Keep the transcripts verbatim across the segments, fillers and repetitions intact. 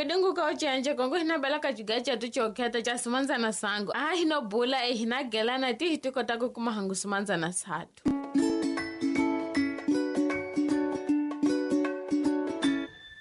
dingu ka ucenje kongo hina bela ka juga chetu chokheta cha simanzana sangu. Ah hino bula e hina gelana ti hitikota ku kuma hangu simanzana satu.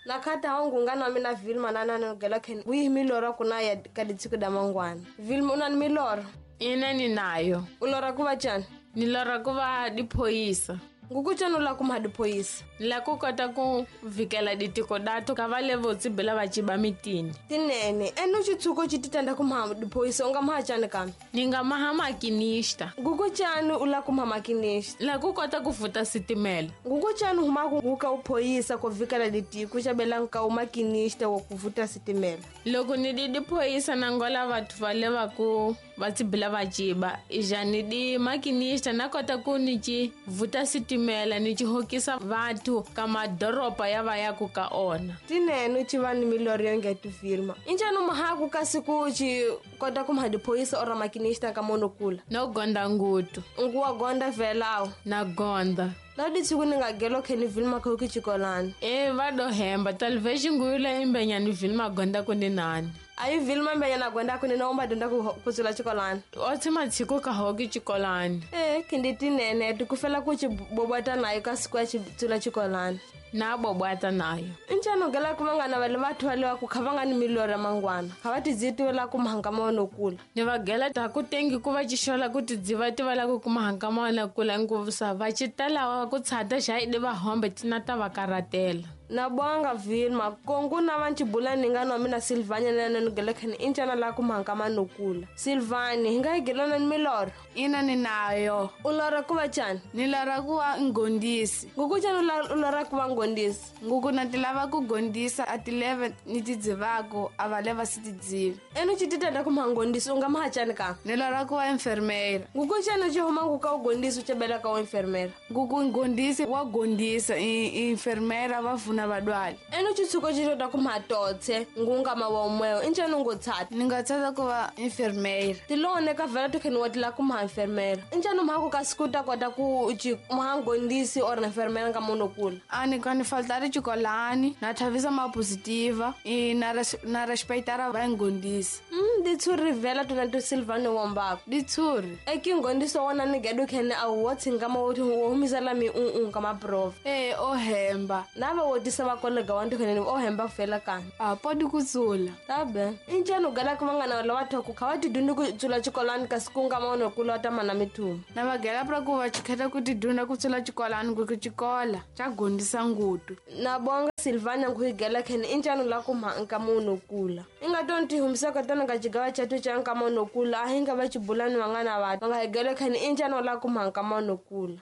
Nakata wangu ngana mina Vilma nana nogela ken wi milora kuna ya kaditsiku da mangwana. Vilma una ni milora? Ina ni nayo. Ulora kuva chani? Nilora kuva diphoyisa. Ngukuchani ula kuma diphoyisa? La ku kota ku vikela ditiko dato ka va le votsi bela va chiba mitini. Tinene, ene uchitsuko chititanda kuma diphoyisa unga maha chani kambe? Ni nga maha makinista. Ngukuchani ula kuma makinista? La ku kota ku futa sitimela. Ngukuchani huma ku nguka uphoyisa ku vikela ditiko xa bela nka u makinista wa ku futa sitimela. Loko ni di diphoyisa na ngola vathu va le va ku va tsibila va chiba, ija ni di makinista na kota ku ni ci vuta sitimela ni ci hokisa vathu ka madoroba ya va ya ku ka ona. Tinene ci va ni milori yo nge ti filma. Injani mahaku kasi ku ci kota ku maha diphoyisa ora makinista ka monokula? No gonda ngutu. Nguwa gonda velawo? Na gonda. Na ditsiku ni nga gelo kheni Vilma kho ki chikolani. E va do hemba talveji nguyula imbenya ni Vilma gonda ku ni nani. Ayi Vilma mbenya na gonda ku ni na umba dunda ku ku tsula chikolani. O tsima tsiko ka hoki chikolani. Eh kindi tinene tikufela ku chi bobata nayo ka siku ya chi tsula chikolani. Na bobata nayo. Injani gela ku vangana va le vathu va le va ku kha va nga ni milora mangwana. Kha va tidziti la ku mahanga ma wona kula. Ni va gela ta ku tengi ku va chixola ku tidziva ti va la ku mahanga ma wona kula ngopfu va chitala ku tshata xa idi va hombe tina ta va karatela. Na bonga Vilma kongu na va nchibula ni nga no mina Silvania na na ngela khani injana la ku mahanga ma nokula. Silvani hi nga gelana ni miloro? Ina ni nayo. U lora ku va chani? Ni lora ku va ngondisi. Nguku chani u lora ku va ngondisi? Nguku na ti lava ku gondisa a ti leve ni ti dzivako a va leva si ti dzivi. Ene chititanda ku maha ngondisi u nga maha chani ka? Ni lora ku va enfermera. Nguku chani chi huma nguka u gondisi u chebela ka u enfermera? Nguku ngondisi wa gondisa i enfermera va na vadwali. Ene chitsuko chitota ku matotse ngunga ma wa umweyo injani ungo tsata? Ni nga tsata ku va enfermera. Tilone ka vela to kheni wa tila ku maha enfermera. Injani mhaku ka siku ta kota ku chi maha ngondisi or enfermera nga monokula? A ni ka ni faltari chikolani na thavisa ma positiva i na res, na respectara va ngondisi. Mm ditshuri vela tona to Silvano wombako. Ditshuri. E ki ngondiso wona ni gedu kheni a wo tsinga ma wo humisa la mi un un ka ma prof. Eh o hemba. Na va wo tisa va kolega wa nto kheni o hemba fela kani. A podi ku tsula. Tabe. Injani ugala ku vangana la batho ku kha va tidunda ku tsula chikolani ka siku nga maono ku lota mana mithumu. Na va gela pra ku va chikheta ku tidunda ku tsula chikolani ku ku chikola cha gondisa ngutu. Na bonga Silvana ku gela kheni injani la ku ma nka mono kula. Inga tonti humisa ka tona ka chigawa chatu cha nka mono kula a hinga va chibulani vangana va nga gela kheni injani la ku ma nka mono kula.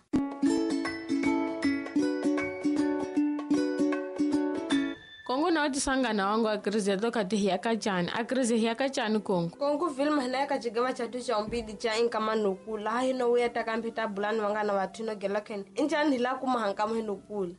Kongo na utisangana wangu akrize toka tihi ya kachani akrize hiya kachani kongo. Kongo Vilma na ka chigawa chatu cha umbidi cha inka manokula haino uya takamphita bulani vangana vathu no gela kheni injani la ku mahanka manokula.